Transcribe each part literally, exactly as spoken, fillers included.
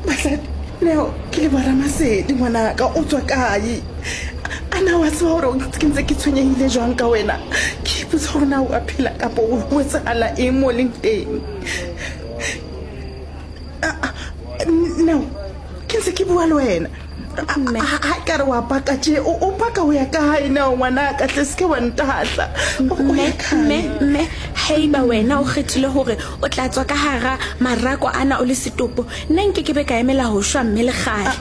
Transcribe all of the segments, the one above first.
Basadi, Neo, ke le bona Masedi ngwanaka, o tswa kae? A na wa tseba hore ke ntse ke tshwenyehile jwang ka wena? Ke ipotsa hore na o a phela kapa o etsahala eng mo leng teng. Neo, ke ntse ke bua le wena. Ha ka re wa paka tje, o paka ho ya kae Neo ngwanaka, hle se ke wa ntahla. O ya kae? Mme, mme, haeba wena o kgethile hore o tla tswa ka hara marako ana o le setopo, nna nke ke be ka emela ho shwa mme le kgale.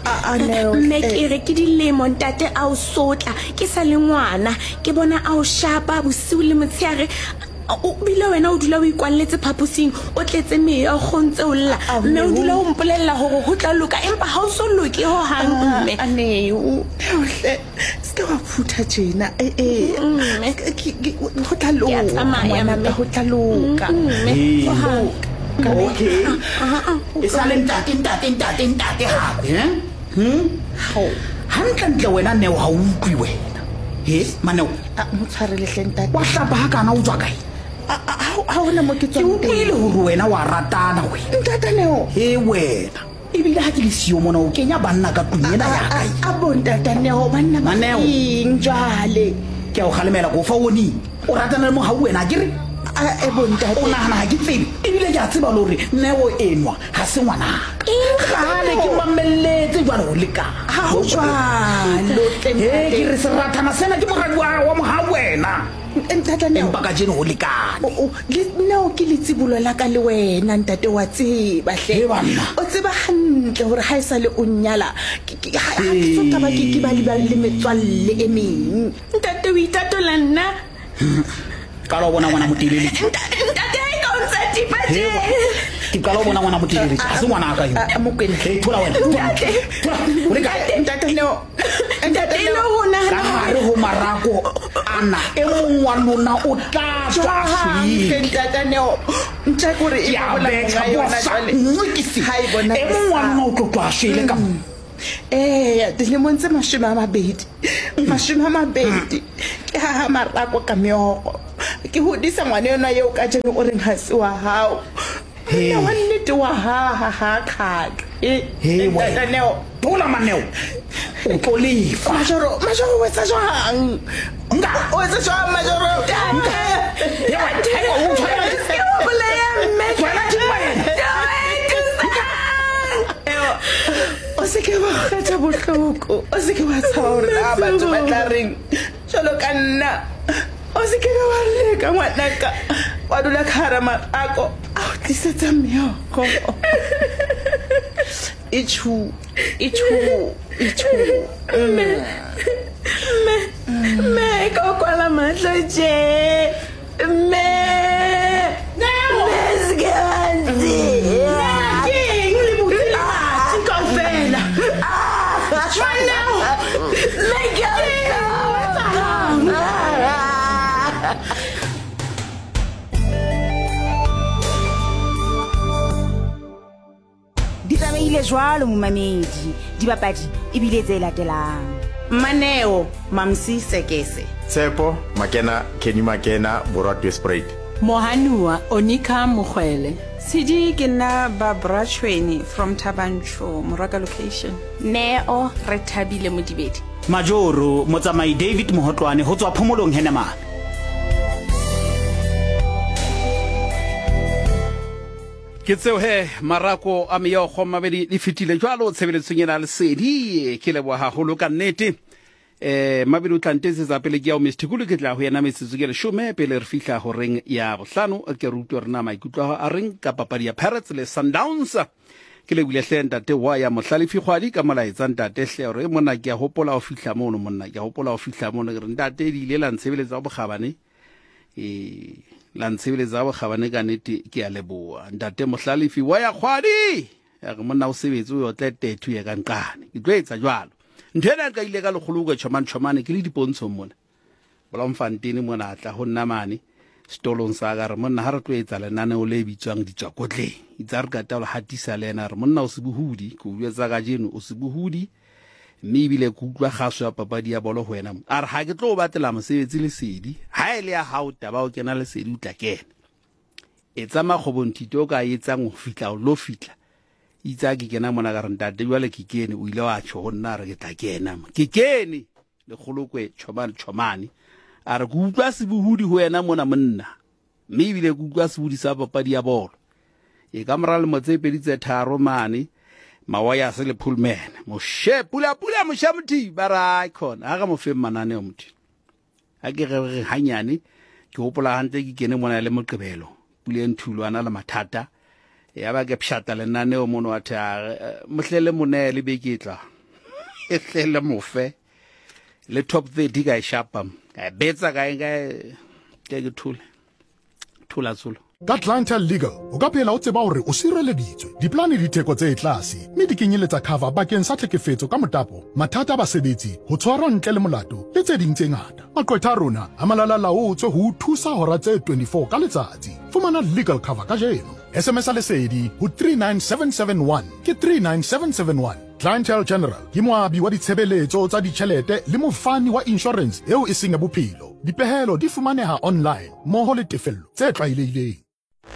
Mme ke re ke dilemo ntate a o sotla, ke sa le ngwana, ke bona a o shapa bosiu le motshehare. O bile wena o dula o ikwalletse phaposing, o tletse meya, o kgontse o lla. Mme o dula o mpolella hore ho tla loka, empa ha o so loke ho hang mme. A Neo, hle, se ke wa phutha tjena. Eh eh. Ho tla loka. Ngwanaka, ho tla loka. Mme, ho hang. Okay. E sale ntate, ntate, ntate, ntate hape, eh? Hm? Hantle ntle wena Neo ha o utlwe wena. He, Maneo. A mo tshwarele hle ntate. Wa hlapa ha kana o tswa kae? Ha hona mo ke tswang teng. Ke utlwile hore wena wa ratana wena. Ntate Neo. He wena. Ebile ha ke le siyo mona o kenya banna ka tlung ena ya kae. A bo ntate Neo, banna ba eng jwale? Ke a o kgalemela ko fa warning. O ratana le mohau wena ke re? A e bo ntate. O nahana ha ke tsebe. Ebile ke a tseba le hore Neo enwa ha se ngwanaka. Kgale ke mamelletse jwale ho lekana. Ha ho jwalo tle ntate. He ke re serathana sena ke moradi wa mohau wena. Ntate Neo. Empa kajeno ho lekane. O le Neo ke letsibolo la ka le wena ntate wa tseba hle. O tseba hantle hore ha e sa le o nnyala ke ha ke so taba ke ke ba le le metswalle e meng. Ntate o itatola nna. Qala o bona ngwana motelele. Ntate ha e ka o ntsa tipa tje. Ke qala o bona ngwana motelele. Ha se ngwana ka eo. Mokwena. He thola wena. Ntate. Thola. O le kae? Ntate Neo. Ntate Neo ho nahana ka hare ho marako ana e mong wa lona o tla tswa shwele. Ntate Neo. Ntja kore e bola ka yona jwale. Ha e bona. E mong wa lona o tlo tswa shwele ka mo. Eh, dilemong tse mashome a mabedi. Mashome a mabedi. Ke ha marako ka meokgo. Ke hodisa ngwana yona eo ka jeno o reng ha se wa hao. Nna wa nnete wa ha ha ha kgaka. He Ntate Neo. Thola Maneo. O tlo lefa. Majoro, Majoro o etsa jwang? Nka. O etsa jwang Majoro? Nka. He wa o tshwara ke o bolaya mme. Wena ke wena. O se ke wa kgetha bohloko. O se ke wa tshaba hore na batho ba tla reng. Jwalo ka nna. O se ke wa leka ngwanaka. Wa dula ka hara marako a o tlisetsa meokgo. Ichu, ichu, ichu. Mme, mme, mme, ka o kwala mahlo tje. Mme, mme, se ke wa ntshiya. Ke eng le botse le batho kaofela? Jwang Neo? Mme ke a o etsahalang? Di tsamaile jwalo momamedi, dibapadi ebile tse latelang. Maneo Mamsi Sekese, Tshepo Makena, Kenny Makena, Borwa Spruit, Mohanua Onika Mokgwele, Tshidi ke nna Barbara Tshweni from Thabanchu, Moraka location. Neo Rethabile Modibedi, Majoro Motsamai David Mohotlwane ho tswa Phomolong Henemane. Ke tseo he marako a meokgo mabedi le fetile jwalo tshebeletsong ena Lesedi. Ke leboha haholo ka nnete. Eh mabedi o tla ntetsetsa pele ke ya o Mister Kulu, ke tla ho yena metsotso ke leshome pele re fihla horeng ya bohlano. Ke re utlwe rena maikutlo a reng ka papadi ya Pirates le Sundowns. Ke lebile hle ntate wa ya Mohlalefi Kgwadi ka molaetsa ntate hle hore monna ke a hopola ho fihla mono, monna ke a hopola ho fihla mono. Ke re ntate di ile la ntshebeletsa bokgabane. Eh la ntshebeletsa bokgabane ka nnete, ke a leboha ntate Mohlalefi wa ya Kgwadi. Ya re monna o sebetse o tle tethu ye ka nqane. Ke tlo etsa jwalo. Ntho ena ka ile ka lekgolo ka tjhomane tjhomane ke le dipontshong mona. Bloemfontein mona atla ho nna mane setolong sa ka re monna ha re tlo etsa lenaneo le bitswang ditswakotleng. Itse re ka taolo hatisa le yena re monna o sebohudi, ke o jwetsa kajeno o sebohudi mme ebile ke utlwa kgaso ya papadi ya bolo ho wena. A re ha ke tlo o batlela mosebetsi Lesedi, ha e le ya hao taba o kena Lesedi o tla kena. Etsa makgobonthito o ka etsang ho fihla o lo fihla. Itse ha ke kena mona ka re ntate jwale ke kene, o ile wa tjho ho nna a re ke tla kena mo. Ke kene le Kgolokwe Tjhomane Tjhomane. A re ke utlwa sebohodi ho wena mona monna. Mme ebile ke utlwa sebohodi sa papadi ya bolo. E ka mora lemo tse pedi tse tharo mane, Mawayase le Pullman. Moshe pula pula moshe mothi ba ra khona. Ha re mo fe mananeo mothi. Ha ke re re hanyane ke hopola hantle ke kene mona le Moqebelo. Pule Nthulo ana le mathata. Ya ba ke pshata lenaneo mono wa the mohlele mone le beke tla. E hlele mofe. Le top thirty ka e shapa. Ka betsa ka e ke ke thule. Thula tsolo. Ka Clientele Legal, o ka phela o tseba hore o sireleditswe. Diplane di theko tse tlase, mme di kenyeletsa cover bakeng sa tlhekefetso ka motapo, mathata a basebetsi, ho tshwarwa ntle le molato, le tse ding tse ngata. Maqwetha a rona a malalalaotswe ho o thusa hora tse twenty-four ka letsatsi. Fumana legal cover kajeno. S M S a Lesedi ho three nine seven seven one ke three nine seven seven one. Clientele General ke moabi wa ditshebeletso tsa ditjhelete le mofani wa insurance eo e seng ya bophelo. Dipehelo di fumaneha online mmoho le tefello tse tlwaelehileng.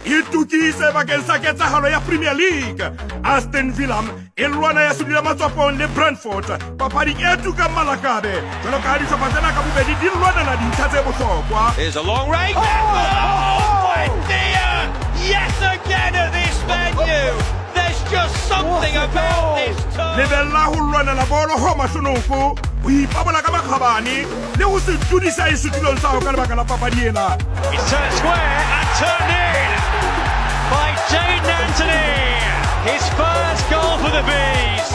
Itukise bakeng sa ketsahalo ya Premier League. Aston Villa e lwana ya sedula matswapong le Brentford. Papadi e tukang malakabe. Jwalo ka ha dihlopha tsena ka bobedi di lwanela dintlha tse bohlokwa. Here's a long range. Oh, oh, oh dear! Yes again at this venue. There's just something about this turn. Lebella ho lwanela bolo ho mahlonoko, ho ipabola ka makgabane le ho se tudisa e setulong sa hao ka lebaka la papadi ena. It's turned square and turned in by Jaden Anthony. His first goal for the Bees.